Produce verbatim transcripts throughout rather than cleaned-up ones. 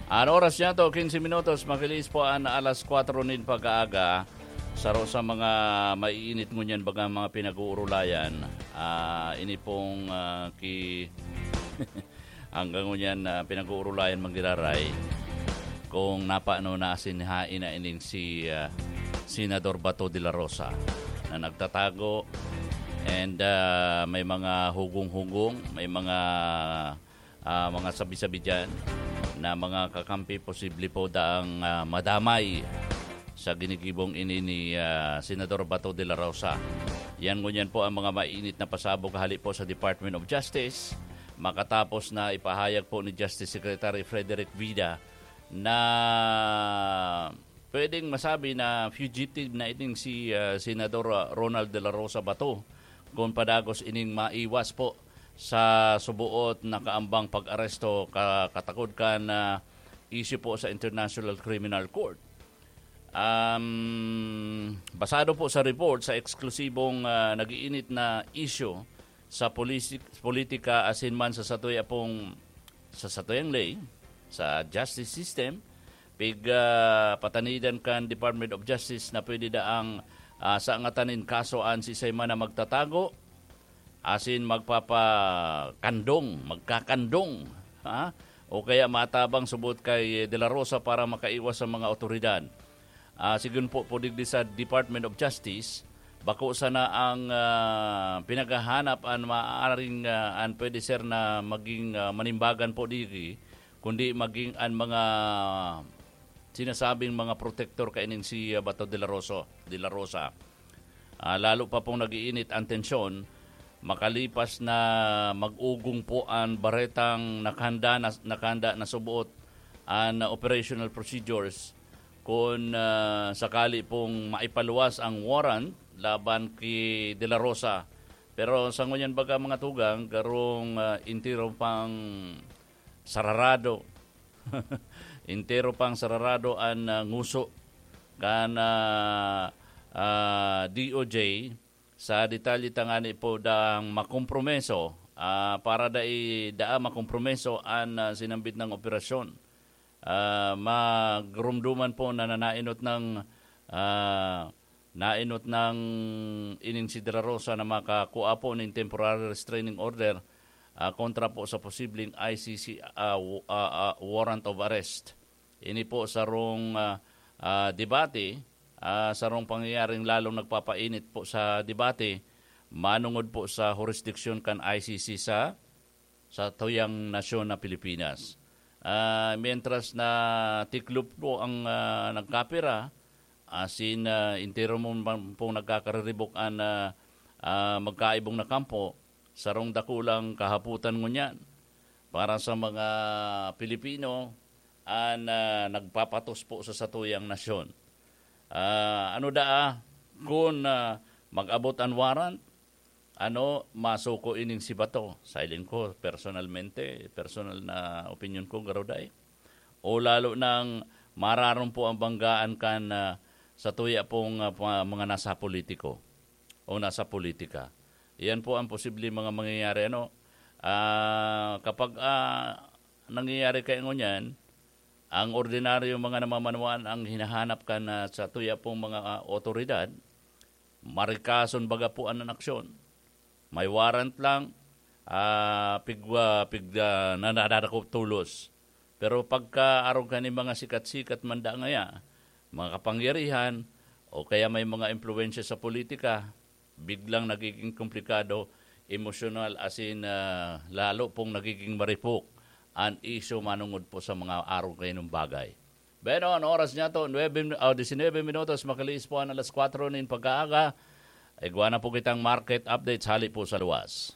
An oras niya to, quince minutos, makilis po an alas kwatro nin pag-aaga. Saro sa mga maiinit ngunyan baga mga pinag-uurulayan. Ah, ini pong, ah, ki-, hanggang ngunyan, ah, pinag-uurulayan, Manggiraray, kung napano na asin hain na ining si, ah, Senador Bato de la Rosa na nagtatago and, ah, may mga hugong-hugong, may mga ah, mga sabi-sabi diyan na mga kakampi posible po daang, ah, madamay sa ginigibong ini ni, ah, Senador Bato de la Rosa. Yan ngunyan po ang mga mainit na pasabog hali po sa Department of Justice, makatapos na ipahayag po ni Justice Secretary Frederick Vida na pwedeng masabi na fugitive na ining si, ah, Senador, ah, Ronald de la Rosa Bato kung padagos ining maiwas po sa subuot na kaambang pag-aresto ka-, katakod kan, ah, issue po sa International Criminal Court. Um, basado po sa report sa eksklusibong, ah, nag-iinit na issue sa polisi-, politika asin man sa satuya pong, sa satuyang ley, sa justice system, pig, ah, patanidan kan Department of Justice na pwede daang, ah, sangatan nin kaso an siisay man na magtatago asin magpapakandong, magkakandong, ha? O kaya matabang subot kay De La Rosa para makaiwas sa mga awtoridad. Ah, sigon po po digdi sa Department of Justice, bako sana ang, ah, pinaghahanap an maaaring, ah, an pwede ser na maging, ah, manimbagan po digdi, kundi maging an mga sinasabing mga protektor kaining si, ah, Bato de la Rosa, de la Rosa. Ah, lalo pa pong nag-iinit ang tensyon, makalipas na mag-ugong po an baretang nakahanda na, nakahanda na subuot an operational procedures kun, ah, sakali pong maipaluwas ang warrant laban ki De La Rosa. Pero sa ngunyan baga, mga tugang, garong, ah, entero pang sararado. Entero pang sararado an, ah, nguso kan, ah, ah, D O J sa detalye tangani po daang makompromiso, ah, para dai daa makompromiso an, ah, sinambit nang operasyon. Ah, magrumduman po na nanainot ng, ah, nainot ng ining si De La Rosa na makakua po nin temporary restraining order, ah, kontra po sa posibleng I C C, ah, w-, ah, ah, warrant of arrest. Ini po sarong, ah, ah, debate, ah, sarong pangyayaring lalong nagpapainit po sa debate manungod po sa hurisdiksyon kan I C C sa, sa tuyang nasyon na Pilipinas. Ah, mientras na tiklop po ang, ah, nagkapira, asin, ah, entero mo man pong nagkakariribok an, ah, ah, magkaibong na kampo, sarong dakulang kahapotan ngunyan para sa mga Pilipino an, ah, nagpapatos po sa satuyang nasyon. Ah, ano daa, kun, ah, mag-abot an warrant, ano, masuko ining si Bato? Sa hiling ko, personalmente, personal na opinyon ko, garo dai. O lalo nang mararom po ang banggaan kan, ah, satuya pong, ah, pa-, mga nasa politiko o nasa politika. Iyan po ang posibleng mga mangyayari, ano? Ah, kapag, ah, nangyayari kaya ngunyan, ang ordinaryo mga namamanuan ang hinahanap kan, ah, satuya pong mga, ah, otoridad, marikason baga po an aksyon. May warrant lang, ah, pigwa-, pig-, ah, na nadadakop tolos. Pero pagka arog kan mga sikat-sikat man daa ngaya, mga kapangyarihan, o kaya may mga impluwensya sa politika, biglang nagiging komplikado, emosyonal, asin, ah, lalo pong nagiging maripok an isyu manungod po sa mga arog kaining bagay. Bueno, an oras niya to, nuebe, ah, disinebe minutos, makaliis po an alas kwatro nin pagkaaga. Igwa na po kitang market updates hali po sa luwas.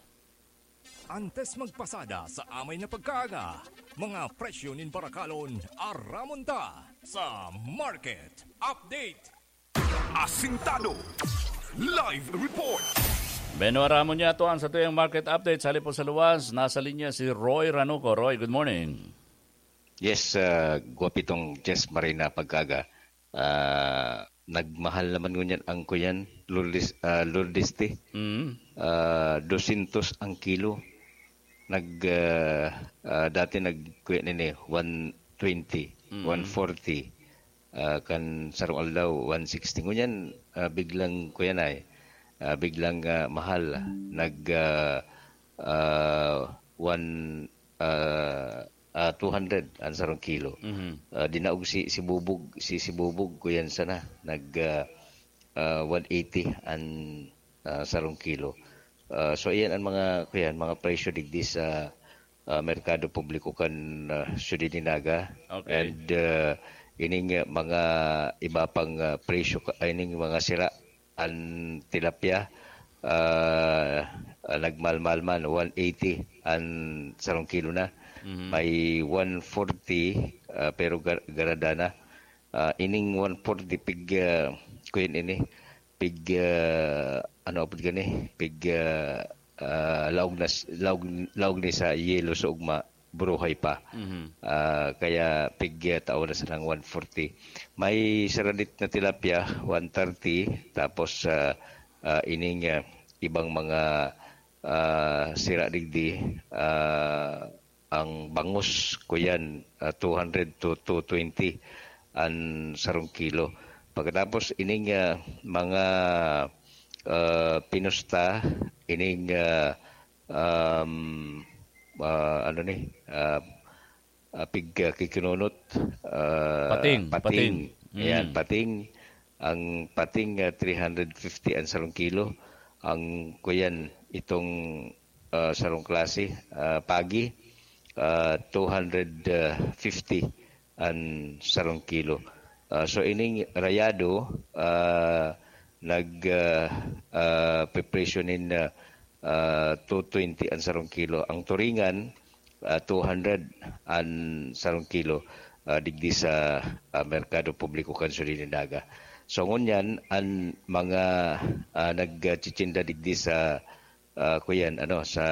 Antes magpasada sa amay na pagkaaga, mga presyo nin barakalon, aramon ta sa market update. Asintado. Live report. Beno, aramon niya to ang satuyang market update. Hali po sa luwas, nasa linya si Roy Ranuco. Roy, good morning. Yes, ah, gwapitong Jess Marina pagkaga. Ah, nagmahal naman ngunyan ang kuyan, Lourdes, ah, Lourdes tea. Mm. Ah, dosyentos ang kilo. Nag, ah, ah, dati nag-, kuya nini, one, twenty, Mm. one forty, ah, kan sarong aldaw, one sixty. Ngunyan, ah, biglang, kuya na eh, ah, biglang, ah, mahal. Nag, ah, ah, one, ah, ah, two hundred ang sarong kilo. Mhm. Ah, dinaog si, si Bubog, si, si Bubog, kuyan sana. Nag, ah, ah, one eighty ang, ah, sarong kilo. Ah, so, iyan ang mga, kuyan, mga presyo digdi sa, ah, merkado publiko kan, ah, Ciudad de Naga. Okay. And, ah, ining, ah, mga iba pang, ah, presyo ka, ining mga sira, an tilapia, ah, ah, nagmalmal man, one eighty an sarong kilo na. Mhm. May one forty, ah, pero gar-, garada na. Ah, ining one forty pig, ah, kuyan ini, pig, ah, ano apod gani? Pig, ah, ah, laog na s-, laog, laog ni sa yelo sa ugma, buruhay pa. Mhm. Ah, kaya pig, ah, tao na sanang one forty. May saradit na tilapia, one thirty. Tapos, ah, ah, ining, ah, ibang mga, ah, sira digdi, ah, ang bangus, kuyan, ah, two hundred to two twenty an sarong kilo. Pagkatapos ining, ah, mga, ah, pinusta, ining, ah, um, ah, ano ni, ah, ah, pig-, ah, kikinunot, ah, Pating, pating. pating. Ayan, Mm. pating. Ang pating, ah, three hundred fifty ang sarong kilo. Ang kuyan, itong, ah, sarong klase, ah, pagi, ah, two hundred fifty ang sarong kilo. Ah, so, ining rayado, ah, nag, ah, ah, pepresyo nin, ah, ah, two twenty ang sarong kilo. Ang turingan, ah, two hundred ang sarong kilo, ah, digdi sa, ah, merkado publiko kan Ciudad de Naga. So, ngunyan, ang mga, ah, nagtitsinda digdi sa, ah, kuyan, ano, sa,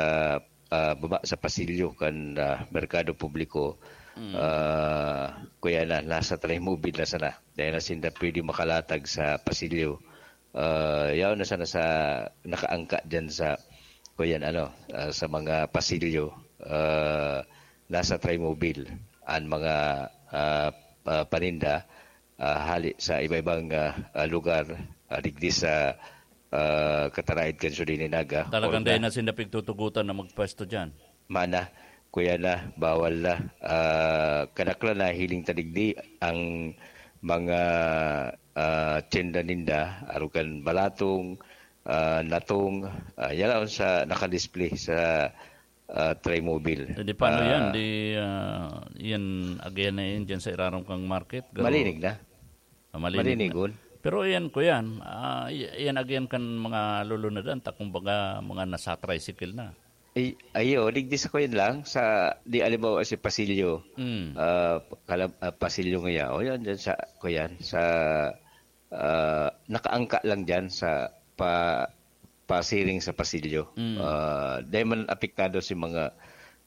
ah, baba sa pasilyo kan, ah, merkado publiko, Mm. ah, kuyan na, nasa Trimobile na sana. Dai na sinda pwede makalatag sa pasilyo. Ah, yaon na sana sa nakaangka diyan sa, kuyan, ano, ah, sa mga pasilyo, ah, nasa Trimobile ang mga, ah, pa-, paninda, ah, hali sa iba-ibang, ah, ah, lugar, ah, digdi sa, ah, Cataraid kan Ciudad de Naga. Talagang Or dai na na sinda pigtutugotan na magpwesto diyan. Mana, kuyan na, bawal na. Ah, kadaklan na hiling ta digdi ang mga, ah, tiyenda ninda, arog kan balatong, ah, natong, ah, yan ang sa nakadisplay sa, ah, Trimobile. Eh, di paano yan? Ah, Di, ah, yan, agihan na yan dyan sa irarom kang market. Pero, Malinig na. Ah, malinig na. Malinigon. Pero yan, kuyan, ah, y-, yan agihan kan mga lulunadan, ta kumbaga mga nasa tricycle na. Ay, ayo, digdi sa kuyan lang, sa, di, halimbawa, si Pasilyo, Mm. ah, kala-, ah, Pasilyo nga yan, o yan, dyan sa, kuyan, sa, ah, nakaangka lang dyan sa pa-, pasiring sa Pasilyo. Mm. Ah, dahil man apektado si mga,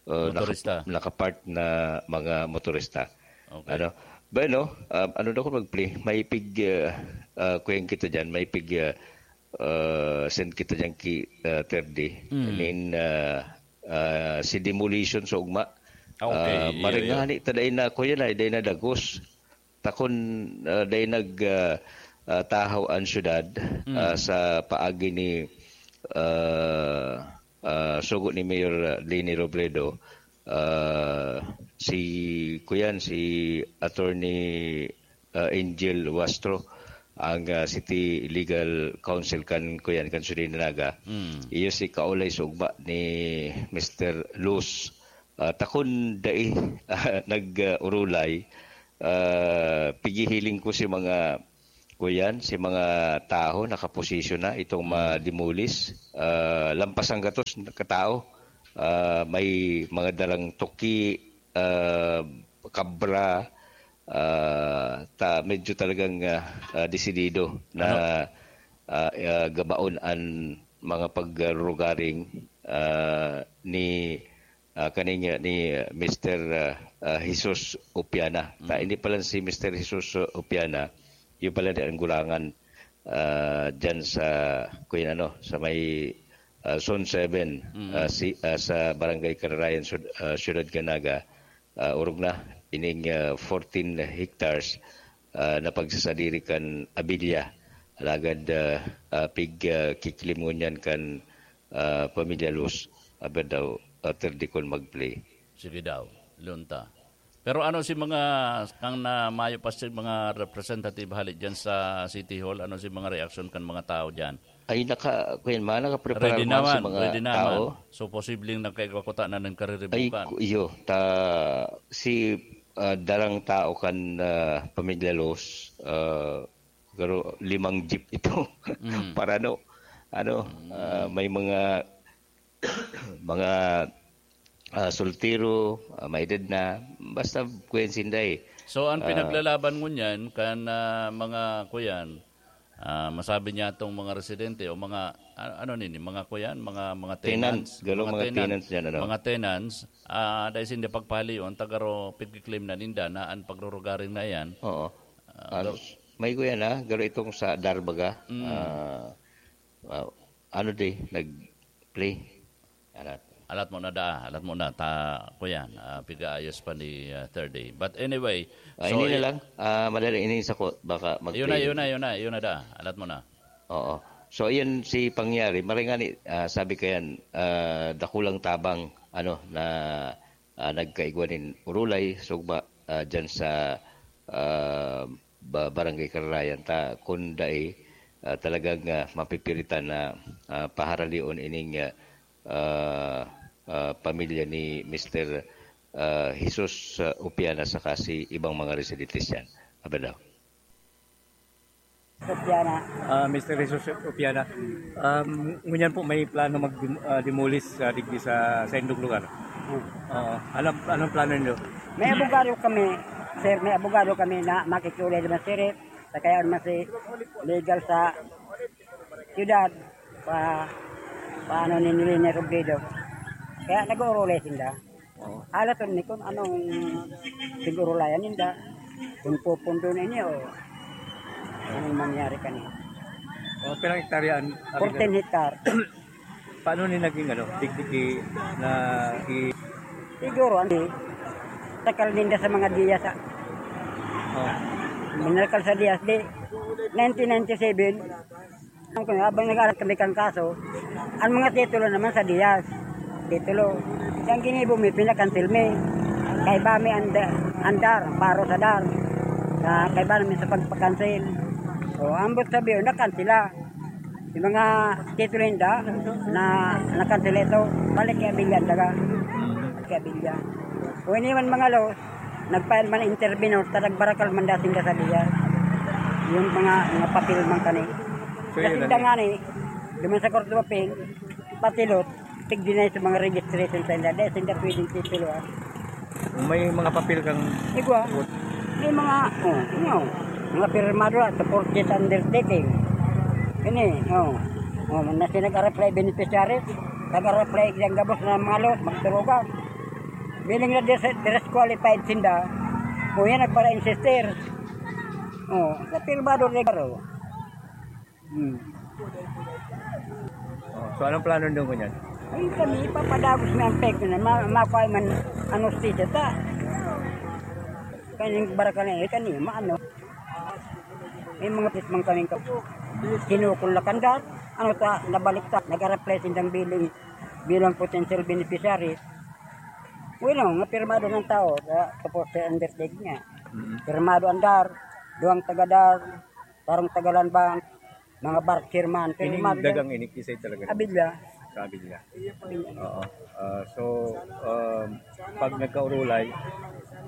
ah, naka-, Motorista. nakapark na mga motorista. Okay. Ano? Bueno, ah, ano daw kung mag-play? May pig, ah, ah, kuyan kita dyan, may pig, ah, ah, send kita dyan ki, ah, Terdi. Mm. Nin, ah, ah, si demolition sa ugma. Ah, okay, Ah, iyo, iyo. Maringani ta dai na, kuya na, dai na dagos. Takon, ah, dai nag, ah, ah, tahaw ang syudad, Mm. ah, sa paagi ni, ah, ah, sugo ni Mayor, ah, Leni Robredo, ah, si, kuyan, si Attorney, ah, Angel Wastro, ang, ah, City Legal Counsel kan, kuyan, kan Ciudad de Naga. Mm. Iyo si kaulay sa ugma ni Mister Luz. Ah, takon dai, ah, nag, ah, urulay, ah, pigihiling ko si mga, kuyan, si mga tawo nakaposisyon na itong Mm. ma-demolish. Ah, lampas ang gatos na katao. Ah, may mga dalang tuki, ah, kabra, ah, ta-, medyo talagang, ah, ah, desidido na, Ano? ah, ah, gabaon an mga pagrugaring, ah, ni, ah, kaning, ah, ni, ah, Mister, ah, ah, Jesus Opiana. Ta, Mm. hindi pa lang si Mister Jesus Opiana, yun pala ni ang gulangan, ah, dyan sa, kuyan ano, sa may, ah, Zone seven, Mm. ah, si, ah, sa Barangay Kararayan, Sud-, ah, Siyudad Canaga, ah, orog na, ining, ah, fourteen hectares, ah, na pagsasadiri kan Abilia. Alagad, ah, ah, pig, ah, kiklim ngunyan kan, ah, Pamilya Luz. Aber daw, ah, thirty kun mag-play. Sige daw, lunta. Pero ano si mga, kang na mayo pa si mga representative hali dyan sa City Hall, ano si mga reaksyon kan mga tao dyan? Ay, naka, kuyan, mga nakaprepara Ready man si naman, mga ready naman. tao. So, posibleng nagkaigwa kuta na ng Ay, kariribukan. ku-, iyo, ta, si, ah, darang tao kan, ah, Pamilya Luz, ah, pero limang jeep ito. Mm. Para no, ano, Mm. ah, may mga, mga, ah, soltero, ah, may edad na, basta kuyan sinda eh. So, ang Ah. pinaglalaban ngunyan kan, ah, mga kuyan, ah, masabi niya itong mga residente o mga, a-, ano nini, mga kuyan, mga, mga Tenants, tenants, galo mga mga tenant-, tenants yan, ano? mga tenants, ah, dahil hindi pagpahalion, tagaro pigkiklaim na ninda na ang pagrurugaring na yan. Oo. Ah, Ah, garo- may kuyan na, garo itong sa Darbaga. Mm. Ah, ah, ano di, nag-play. Alat. Alat mo na da, alat mo na. Ta, kuyan, ah, pigaayos pa ni, ah, third day. But anyway, Ah, so, ini na i- lang. Ah, madali, ini sa ko, baka mag-play. Yun na, yun na, yun na, yun na da. Alat mo na. Oo. So, iyan si pangyari. Maray nga ni, ah, sabi kayan, ah, dakulang tabang, ano, na, ah, nagkaigwa nin urulay, sugma, ah, dyan sa, ah, ba-, Barangay Kararayan. Ta, kun dai, ah, talagang, ah, mapipiritan na, ah, paharalion ining, ah, ah, ah, pamilya ni Mister, ah, Jesus, ah, Upiana saka si ibang mga residentes yan. Abadaw. Upiana. Ah, Mister Jesus Upiana, um, ngunyan po may plano mag-, ah, demolish, ah, digdi sa, sa indong lugar. Hmm. Oo. Anong, anong plano niyo? May abogado kami, sir, may abogado kami na makikiulay naman, sir, eh. Sa kaya naman si legal sa siyudad, pa, paano ni Nilene Robredo. Kaya nag-uurulay sinda. Oo. Alas ni kung anong sigurulayan ninda, kung pupundo na ini o anong mangyari kanina. O, pirang hektarya an-, fourteen hektar. Paano ni naging, ano, digdigi na i- Siguro, ano, takal ninda sa mga Diaz, ah. Oh. Minakal sa Diaz, di, nineteen ninety-seven, ang, habang nag-aaral kami kang kaso, ang mga titulo naman sa Diaz. Titulo. Yung ginibo mi, pinakansil mi. Kaiba mi ang da-, ang DAR, paro sa DAR. Sa kaiba namin sa pagpakansil. O, ambot sabi, nakansila. Yung mga titulo ninda na nakansila ito, balik kay Abilia ang daga. Kay Abilia. O, iniwan mga laws, nag-file man intervenor, ta nagbarakal man dating ka sa Diaz. Yung mga, mga papel man kani. So, yun Kasi lang. Dangani, duman sa Court of Appeal, patilot, tig-deny sa mga registration sa inda. Dahil sa inda pwedeng titulo, ah. May mga papel kang Igwa, may mga, oh, ano, mga pirmado na, supported undertaking. Ini, oh, oh, na si nag-reply beneficiaries, nag-reply diyang gabos na mga laws, magturugan. Bilang na dis-, disqualified sinda, o yan nagpara-insister. Oh, sa pirmado regalo. Hmm. Oh, so, anong plano nyo ngunyan? Ay, kami, ipapadagos na ang pek na ma-, makuha man ang hustisya ta. Kaning barakal na, eh, kani, maano. May mga pismang kaming ka-, kinukul na kandar, ano ta, nabalik ta, nag-a-reply sindang bilang, bilang potential beneficiaries. Well, no, nga pirmado ng tao, sa, tapos sa undertaking niya. Mm. Pirmado ang DAR, duwang taga-DAR, parang taga-Land Bank, mga bark chairman, Ining pirmado dagang yan. Ini, kisay talaga. Abilya. Sa Abilya. Oo. Ah, so, um, pag nagkaurulay,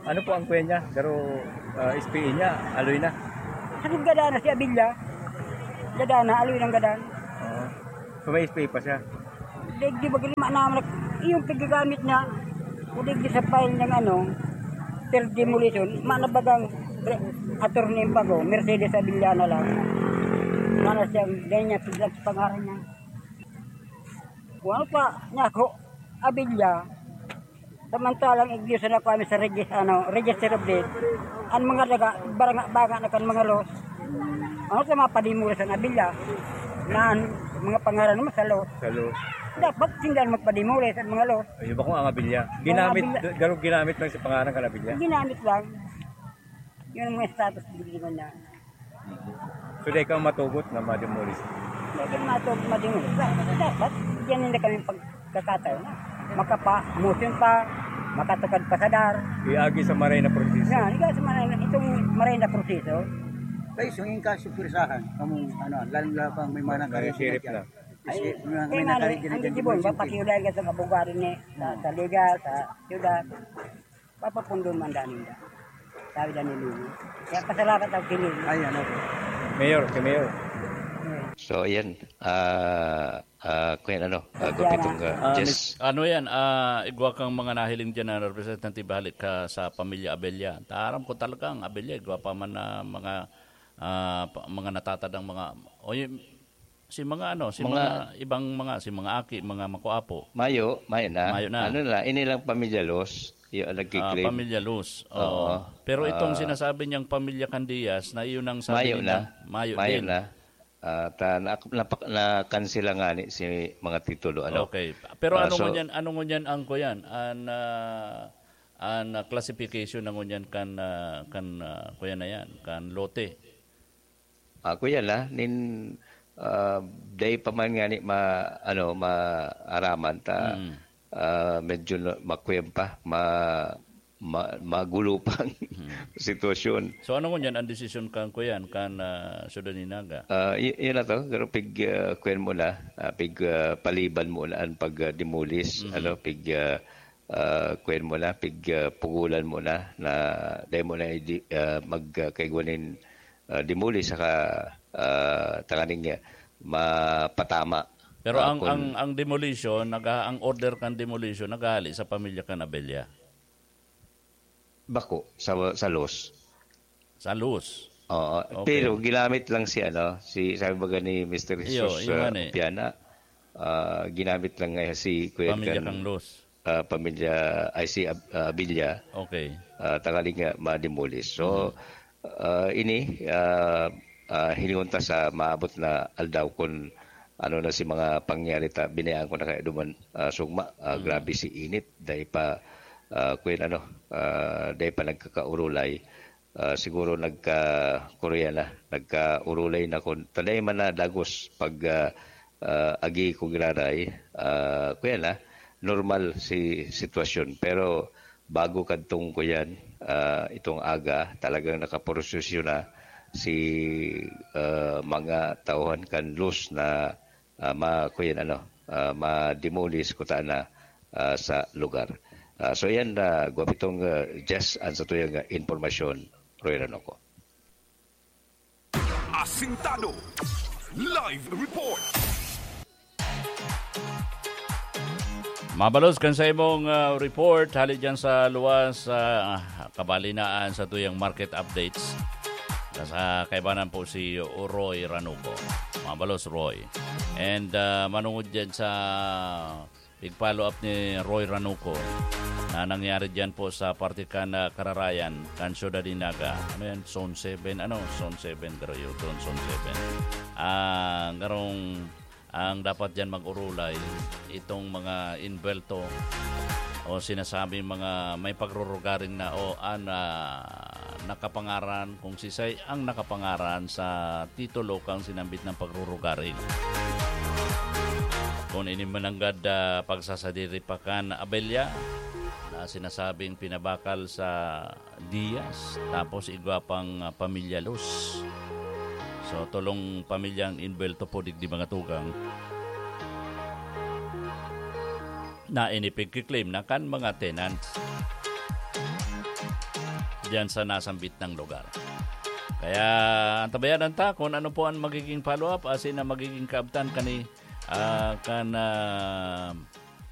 ano po ang kuya niya? Pero, ah, S P A niya, aloy na. Sa gada na si Abilya. Gada na, aloy ng gada. Oo. So, may S P A pa siya? Digdi ba, lima na naman, yung paggagamit niya, o digdi sa file ng ano, per demolition, manabagang pre-, attorney pa ko, Mercedes Avellana lang. Mana siya, ganyan niya, piglag sa pangaran niya. Kung ano pa, niya ako, Abilya, samantalang igdiyosan ako kami sa regis-, ano, Register of Deed, ang mga daga, baranga-banga na kan mga laws, ano sa mga padimulas ang Abilya, na ang mga pangaran naman sa laws. Sa laws. Dapat sinda ang magpademolish sa mga loss. Ay, iba ko ang abilya. Ginamit, abilya. Garo ginamit lang sa pangalan kan abilya. Ginamit lang. Yung mga status building na. So, di ka matugot na ma-demolish? Hindi ka matugot ma-demolish. Dapat, bigyan nila kami pagkakataon na makapa-motion pa, makatukad pa sa dar. Iagi sa maray na proseso. Yan, ikaw sa maray na, itong maray na proseso. Kayo, sungin ka, supwersahan. Kamong, ano, lalong-lalo pang may mga May nakaresign sheriff dyan. Na. Ay, Kasi, mga, kaya may nga, nakaresign ang dyan, Gibon, emergency. Papakiulay ka sa abogado ni, sa, sa legal, sa syudad. Papapundo man daan ninda. Sabi dyan ni Lulu. Kaya pasalamat ako kay Lulu. Ayan, okay. Mayor, kay Mayor. So, ayan. Ah, ah, kuya, ano, ah, Gupitong, ah, Ah, Jess. Mis-, ano yan? Ah, igwa kang mga nahiling dyan na representative halik ka sa pamilya Abella. Taram ko talaga ang Abella, igwa pa man na mga, ah, pa-, mga natatadang mga, o yun, si mga ano, si Mga mga ibang mga, si mga aki, mga makuapo. Mayo, mayo na. Mayo na. Ano na, ini lang pamilya Los, yung Ah, nagkiklaim. Pamilya Los. Oo. Oo. Pero itong Ah. sinasabi niyang pamilya Candias, na iyon ang sabi Mayo nila, na. Mayo Mayo din. Na. Ah, ta-, na-, napak-, na-cancel nga ni si mga titulo, ano. Okay. Pero Ah, ano so ngunyan, ano ngunyan ang kuyan? An, ah, an, ah, classification na ngunyan kan, ah, kan, ah, kuyan na yan, kan lote? Ako yan, ah, nin, ah, dai pa man nga ni ma-, ano, maaraman ta, Mm. ah, medyo na, makwem pa, ma-, ma-, magulo pang Mm. sitwasyon. So, ano ngunyan ang desisyon kan kuyan, kan, ah, Syudad ni Naga? Ah, y-, yun na to, pero pig, ah, kuyan mo na, ah, pig, ah, paliban mo na ang pag, ah, demolish, Mhm. ano, pig, ah, ah, kuyan mo na, pig, ah, pugulan mo na, na dai mo na idi-, ah, mag, ah, kaigwa nin, ah, demolish saka, ah, tanganing, ah, mapatama. Pero Ah, ang, kun ang, ang demolition, naga-, ang order kan demolition, naghahali sa pamilya kan Abella? Bako, sa, sa Los. Sa Los? Oo, Okay. pero ginamit lang si, ano, si, sabi baga ni Mister Iyo, Jesus, iyo ah, man eh. Opiana, ah, ginamit lang nga si Kuya Pamilya Gan, kang Los. ah, pamilya, ay, si Ab-, ah, Abilla, Okay. ah, tangaling, ah, ma-demolish. So, Mhm. ah, ini, ah, ah, hilingon ta sa maabot na aldaw kun ano na si mga pangyari ta, binayaan ko na kaya duman, ah, sugma, ah, Mhm. grabe si init, dai pa, ah, kuyan ano, ah, dai pa nagkakaurulay. Ah, siguro nagka-, kuruya na, nagkaurulay na kun, tanay man na dagos pag, ah, ah, agi ko giraray, ah, kuya na, normal si sitwasyon. Pero bago kadtong kuyan, ah, itong aga, talagang nakaprosesyon na si, ah, mga tauhan kan Luz na, ah, ma-, kuyan, ano, ah, ma-demolish kuta na, ah, sa lugar. Ah, so yan, ah, gwapitong, ah, Jess, ang sa tuyang, ah, impormasyon, Roy Ranoco. Asintado. Live report. Mabalos kan sa imong, ah, report, hali dyan sa luwas, ah, kabalinaan sa tuyang market updates. Nasa kaibanan po si Roy Ranuco. Mabalos, Roy. And, ah, manungod dyan sa pig-follow up ni Roy Ranuco na nangyari dyan po sa parte kan, ah, Kararayan, kan Ciudad de Naga. Ano yan? Zone seven, ano? Zone seven, pero yun, zone seven. Ah, ngarong ang dapat dyan mag-urulay, itong mga inbelto o sinasabing mga may pagrurugaring na o an, ah, nakapangaran, kung sisay ang nakapangaran sa titulo kang sinambit ng pagrurugaring. Kung ini mananggad, ah, pagsasadiri pa kan Abella na sinasabing pinabakal sa Diaz, tapos igwa pang, ah, pamilya Luz. So, tolong pamilyang inbelto po digdi, mga tugang, na inipigkiklaim na kan mga tenants diyan sa nasambit nang lugar. Kaya, antabayanan ta kung ano po ang magiging follow-up, asin na magiging kaabtan kani, ah, kan, ah,